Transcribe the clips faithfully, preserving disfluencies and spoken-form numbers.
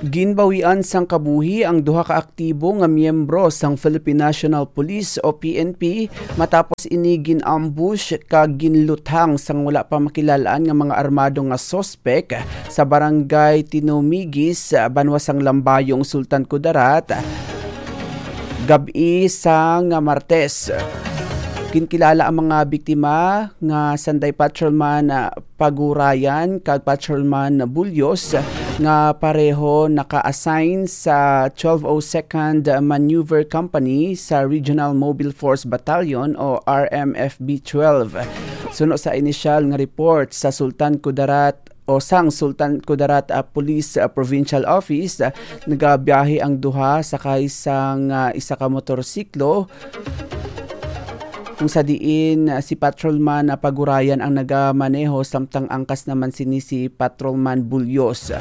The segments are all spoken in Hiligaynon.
Ginbawian sang kabuhi ang duha ka aktibo nga miyembro sang Philippine National Police o P N P matapos ini gin-ambush kag ginluthang sang wala pa makilal-an nga mga armado nga suspek sa barangay Tinumigis, banwa sang Lambayong, Sultan Kudarat, gab-i sang Martes. Ginkilala ang mga biktima nga sanday Patrolman, ah, Pagurayan kag Patrolman Bulyos nga pareho naka-assign sa twelve oh second Maneuver Company sa Regional Mobile Force Battalion o R M F B twelve. Suno sa inisyal nga report sa Sultan Kudarat o sang Sultan Kudarat, ah, Police, ah, Provincial Office, ah, nagabiyahe ang duha sakay sang, ah, isa ka motorsiklo, kung sa diin, ah, si Patrolman, ah, Pagurayan ang nagamaneho, samtang angkas naman sini si Patrolman Bulyos.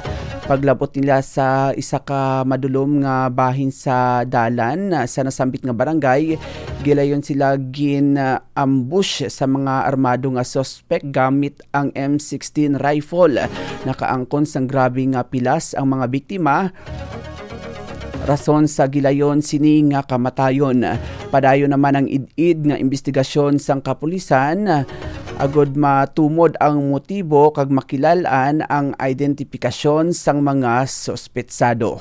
Paglabot nila sa isa ka madulom nga bahin sa dalan, ah, sa nasambit nga barangay, gilayon sila gin, ah, ambush sa mga armado nga suspek gamit ang M sixteen rifle. Nakaangkon sang grabe nga pilas ang mga biktima, rason sa gilayon sini nga kamatayon. Padayon naman ang id-id nga imbestigasyon sang kapulisan agod matumod ang motibo kag makilal-an ang identifikasyon sang mga suspetsado.